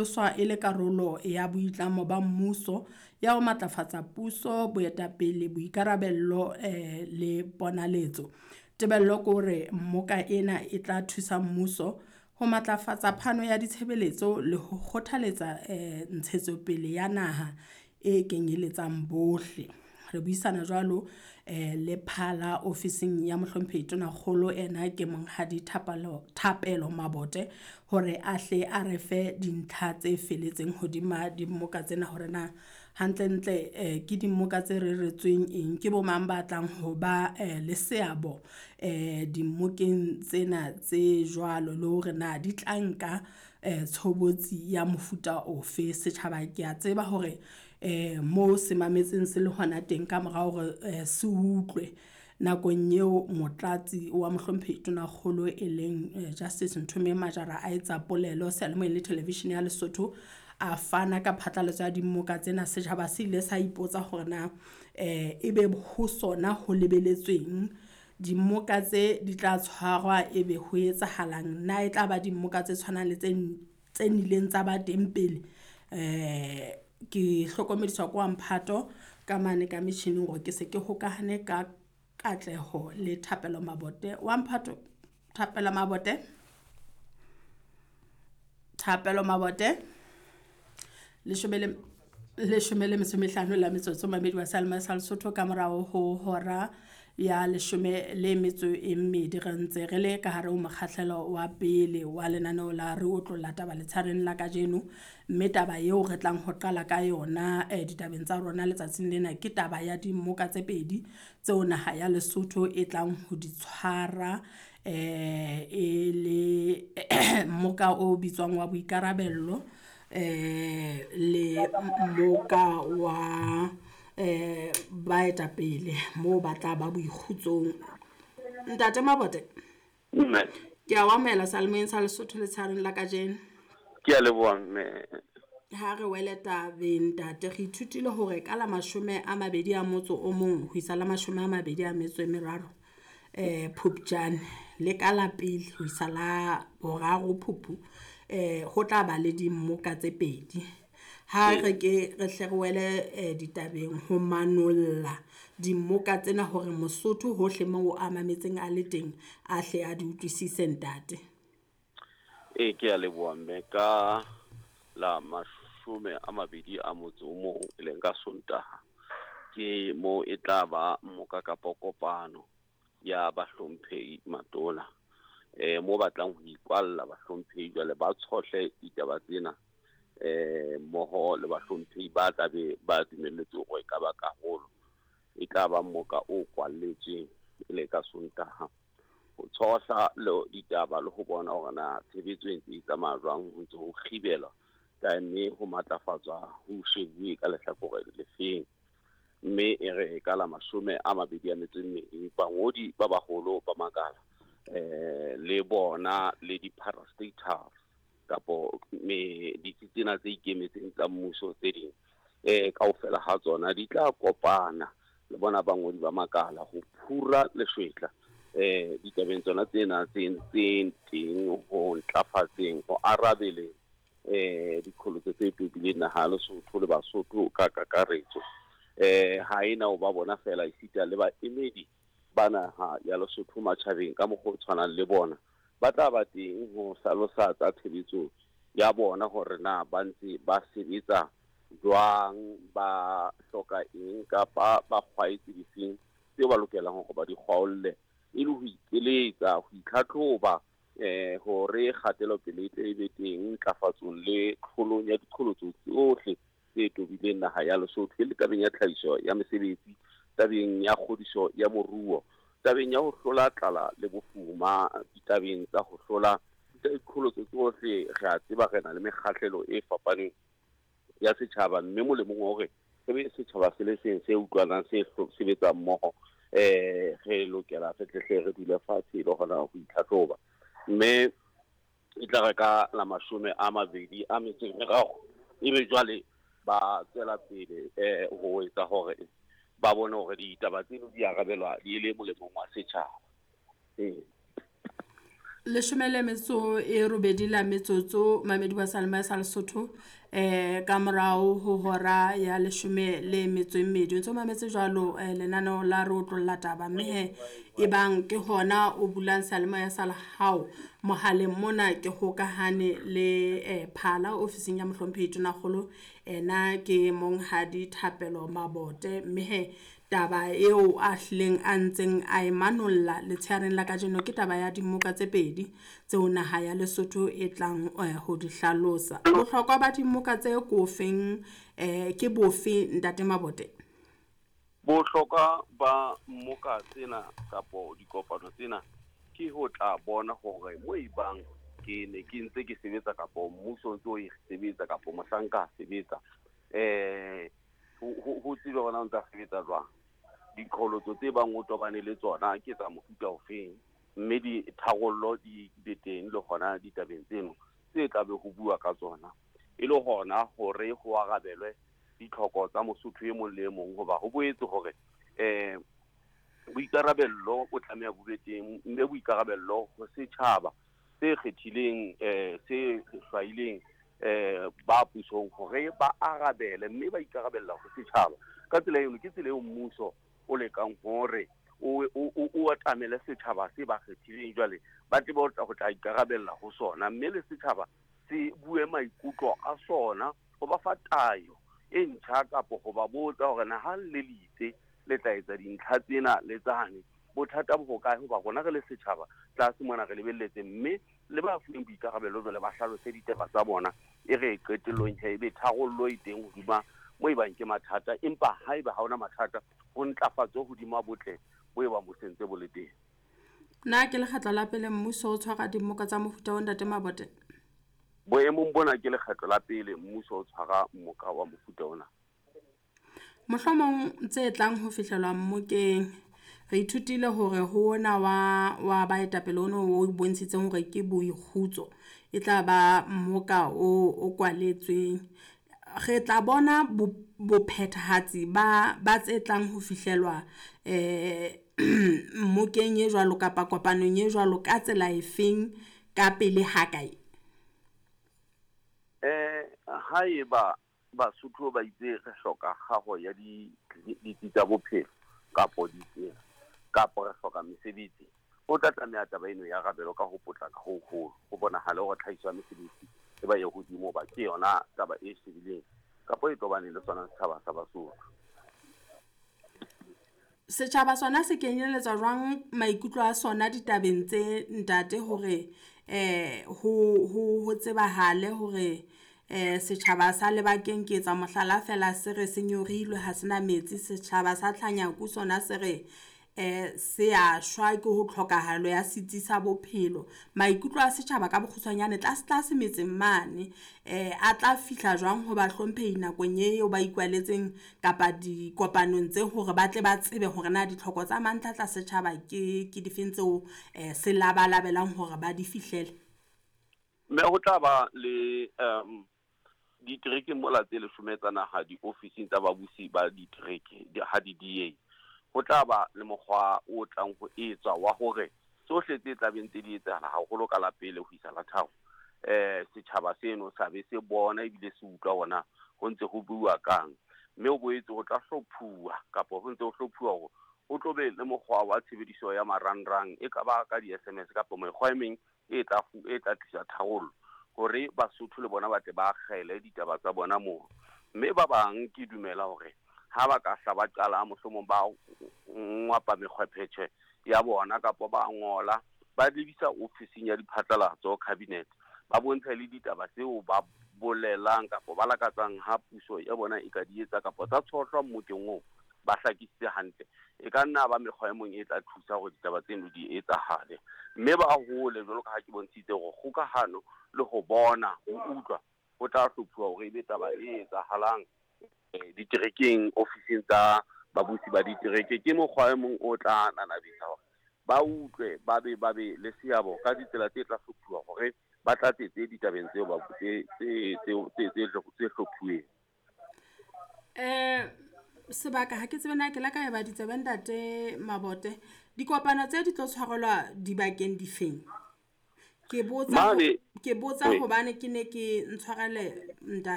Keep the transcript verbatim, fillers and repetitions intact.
Swa e le karolo ya boitlamo ba mmuso ya ho matlafatsa puso, boetapele, boikarabello eh le ponaletso. Tebello ke hore mmoka ena e tla thusa mmuso ho matlafatsa phano ya ditshebeletso le ho kgothaletsa eh ntshetsopele ya naha e kenyeletsang bohle. Re buisana jwalo eh le phala ofising ya Mohlomphehi Tonakgolo ena ke Monghadi Thapelo Thapelo Mabote hore a hle a re fe dintlha tse felletseng hodima dimmoka tsena hore na hantlentle eh ke dimmoka tse reretsweng eng, ke bo mang ba tlang ho ba eh le seabo eh dimmokeng tsena tse jwalo, le hore na di tla nka eh tshobotsi ya mofuta ofe. Setjhaba ke a tseba hore eh mo se mametseng se le hona teng ka mora hore se utlwe nakong eo Motlatsi wa Mohlomphehi Tonakgolo e leng Justice Nthomeng Majara a etsa polelo seyalemoyeng le television ya Lesotho, a fana ka phatlalatso ya dimmoka tsena. Setjhaba se ile sa ipotsa hore na eh ebe ho sona ho lebeletsweng, dimmoka tse di tla tshwarwa ebe ho etsahalang. Na e tla ba dimmoka tse tshwanang le tse tse nnileng tsa ba teng pele. Eh ke hlokomediswa ke wa mphato ka mane ka metjhining hore ke se ke hokahane ka katleho le Thapelo Mabote wa mphato, Thapelo Mabote, Thapelo Mabote leshome le leshome le metso e mehlano la metsotso mamedi wa seyalemoya sa Lesotho ka morao ho hora ya leshome le metso e mmedi re ntse re le ka hare ho mokgahlelo wa pele wa lenaneo la re otlolla taba letshareng la kajeno, mme taba eo re tlang ho qala ka yona eh ditabeng tsa rona letsatsing lena ke taba ya dimmoka tse pedi tseo naha ya Lesotho e tlang ho di tshwara eh e le mmoka o bitswang wa boikarabello eh le mmoka wa eh baetapele moo ba tla ba boikgutsong. Ntate Mabote, Mme. Ke a o amohela seyalemoyeng sa Lesotho letshareng la kajeno. Ke a leboha mme. Ha re wele tabeng ntate, re ithutile hore ka la mashome a mabedi a motso o mong ho isa la mashome a mabedi a metso e meraro eh Phupjane le ka la pele ho isa la boraro Phupu eh ho tla ba le dimmoka tse pedi. Ha re ke re hle re wele eh ditabeng ho manolla dimmoka tsena hore Mosotho hohle moo a mametseng a le teng a hle a di utlwisise ntate. E ke a leboha mme ka la mashome a mabedi a motso o mong e leng ka Sontaha ke mo e tla ba mmoka kapa kopano ya bahlomphehi matona eh mo batlang ho ikwalla bahlomphehi jwale ba tshohle ditaba tsena eh mmoho le bahlomphehi ba tla be ba dumelletswe hore e ka ba karolo e tla ba mmoka o kwalletsweng e le ka Sontaha ho tshohla le ditaba le ho bona hore na tshebetso e ntse e tsamaya jwang, ho ntse ho kgibelwa kae mme ho matlafatswa ho shebuwe ka lehlakore le feng. Mme e re ka la mashome a mabedi a metso e mmedi bangodi ba baholo ba makala eh le bona le di-parastatals kapo me ditsi tsena tse ikemetseng tsa mmuso tse ding eh kaofela ha tsona di tla kopana le bona bangodi ba makala ho phura leshwetla eh ditabeng tsona tsena tse ntseng teng ho ntlafatseng ho arabeleng eh diqholotso tse tobileng naha ya Lesotho le Basotho ka kakaretso. Eh ha ena o ba bona fela esita le baemedi ba naha ya Lesotho matjhabeng ka mokgwa o tshwanang le bona ba tla ba teng ho hlalosa tsa tshebetso ya bona hore na ba ntse ba sebetsa jwang, ba hloka eng kapa ba kgwaetse difeng tseo ba lokelang hore ba di kgwaolle e le ho ikeletsa, ho itlhatlhoba eh hore kgatelopele e tle e be teng ntlafatsong le tlholong ya diqholotso tsohle tse tobileng naha ya Lesotho, e le tabeng ya tlhahiso ya mesebetsi, tabeng ya kgodiso ya moruo, tabeng ya ho hlola tlala le bofuma, ditabeng tsa ho hlola diqholotso tsohle. Re a tseba re na le mekgahlelo e fapaneng ya setjhaba, mme molemong wa hore re be setjhaba se le seng se utlwanang se sebetsang mmoho eh re lokela re tle hle re dule fatshe le hona ho itlhatlhoba. Mme e tla re ka la mashome a mabedi a metso e meraro ebe jwale ba tswela pele eh ho etsa hore ba bone hore ditaba tseno di arabelwa di le molemong wa setjhaba. Ee. Leshome le metso e robedi la metsotso mamedi wa Salma sa Lesotho eh ka morao ho hora ya leshome le metso e mmedi. O ntso mametse jwalo lenaneo la re otlolla taba mme he e bang ke hona o bulang seyalemoya sa hao mohaleng mona ke hokahane le eh Phala ofising ya Mohlomphehi Tonakgolo, ena ke Monghadi Thapelo Mabote mme he taba eo a hlileng a ntseng a e manolla letsheareng la kajeno ke taba ya dimoka tse pedi tseo naha ya Lesotho e tlang ho di hlalosa. Bohlokwa ba dimoka tse ko feng eh ke bofe Ntate Mabote? Bohlokwa ba mmoka tsena kapo dikopano tsena ke ho tla bona hore mo e bang ke ne ke ntse ke sebetsa kapo mmuso o ntse o e sebetsa kapo mohlanka a sebetsa eh ho tsebe hore na o ntsa sebetsa jwang. Diqholotso tse bang o tobane le tsona ke tsa mofuta ofeng, mme ditharollo di be teng le hona ditabeng tseno tse tla be ho bua ka tsona e le hona hore ho arabelwe ditlhoko tsa Mosotho e mong le e mong. Hoba ho boetse hore eh boikarabello bo tlameha bo be teng, mme boikarabello ho setjhaba se kgethileng eh se hlwaileng eh ba pusong hore ba arabele mme ba ikarabella ho setjhaba. Ka tsela eno ke tsela eo mmuso o lekang hore o o atamele setjhaba se ba kgethileng jwale ba tsebe ho tla ikarabella ho sona, mme le setjhaba se bue maikutlo a sona ho ba fa tayo e ntjha kapo ho ba botsa hore na ha le litse le tla etsa dintlha tsena le tsane bothata bo hokae, hoba rona re le setjhaba tlase mona re lebelletse, mme le ba fuweng boikarabelo jwale ba hlalose ditaba tsa bona e re qetellong he ebe tharollo e teng hodima mo e bang ke mathata, empa haeba ha hona mathata ho ntlafatso hodima botle bo e bang bo sentse bo le teng. Na ke lekgetlo la pele mmuso o tshwara dimoka tsa mofuta wa Ntate Mabote? Boemong bona ke lekgetlo la pele mmuso o tshwara mmoka wa mofuta ona. Mohlomong tse tlang ho fihlelwa mmokeng re ithutile hore ho ona wa wa baetapele ono o bontshitseng hore ke boikgutso e tla ba mmoka o o kwaletsweng. Re tla bona bophethahatsi ba ba tse tlang ho fihlelwa eh mmokeng e jwalo kapa kopanong e jwalo ka tsela efeng ka pele ha kae? Eh haeba Basotho ba itse re hloka kgaho ya di ditsi tsa bophelo kapo ditsela kapo re hloka mesebetsi, o tla tlameha taba eno ya arabelwa ka ho potlaka ho hoholo, ho bonahale hore tlhahiso ya mesebetsi e ba e hodimo hoba ke yona taba e shebileng kapo e tobaneng le sona setjhaba sa Basotho. Setjhaba sona se kenyeletswa jwang maikutlo a sona ditabeng tse ntate hore eh ho ho ho tsebahale hore eh setjhaba sa Lebakeng ke etsa mohlala fela se re se nyorilwe ha sena metsi, setjhaba sa Tlhanyaku sona se re eh se a shwa ke ho tlhokahalo ya setsi sa bophelo. Maikutlo a setjhaba ka bokgutshwanyane tlase tlase metseng mane eh a tla fihla jwang ho bahlomphehi nakong eo ba ikwaletseng kapa dikopanong tse hore ba tle ba tsebe hore na ditlhoko tsa mantlha tsa setjhaba ke ke difeng tseo eh se labalabelang hore ba di fihlele? Mme ho tla ba le um ditereke mola tse leshome tsa naha diofising tsa babusi ba ditereke ha di D A. Ho tla ba le mokgwa o tlang ho etswa wa hore tsohle tse tlabeng tse di etsahala haholo ka la pele ho isa la tharo eh setjhaba seno sa be se bona ebile se utlwa hona ho ntse ho bua kang, mme ho boetse ho tla hlophuwa kapo ho ntse ho hlophuwa hore ho tlo be le mokgwa wa tshebediso ya marangrang e ka ba ka di S M S kapo mekgwa e meng e tla e tla tlisa tharollo hore Basotho le bona ba tle ba akgele ditaba tsa bona moo. Mme ba bang ke dumela hore ha ba ka hla ba qala mohlomong ba ngwapa mekgwephetjhe ya bona kapo ba ngola ba lebisa ofising ya diphatlalatso cabinet ba bontshe le ditaba tseo ba bolelang kapo ba lakatsang ha puso ya bona e ka di etsa kapo tsa tshohlwa mmokeng oo ba hlakisitse hantle, e ka nna ba mekgwa e mong e tla thusa hore ditaba tseno di etsahale mme ba hole jwalo ka ha ke bontshitse hore kgokahano le ho bona ho utlwa ho tla hlophuwa hore ebe taba e etsahalang diterekeng ofising tsa babusi ba ditereke. Ke mokgwa e mong o tla nanabetsa hore ba utlwe ba be ba be le seabo ka ditsela tse tla hlophuwa hore ba tlatsetse ditabeng tseo ba tse tse tse tse hlophuweng. Eh sebaka ha ke tsebe na ke la ka e ba ditsebe Ntate Mabote, dikopano tse di tlo tshwarelwa dibakeng difeng? Ke botsa Mane ke botsa Ee. hobane ke ne ke ntshwarele ntate.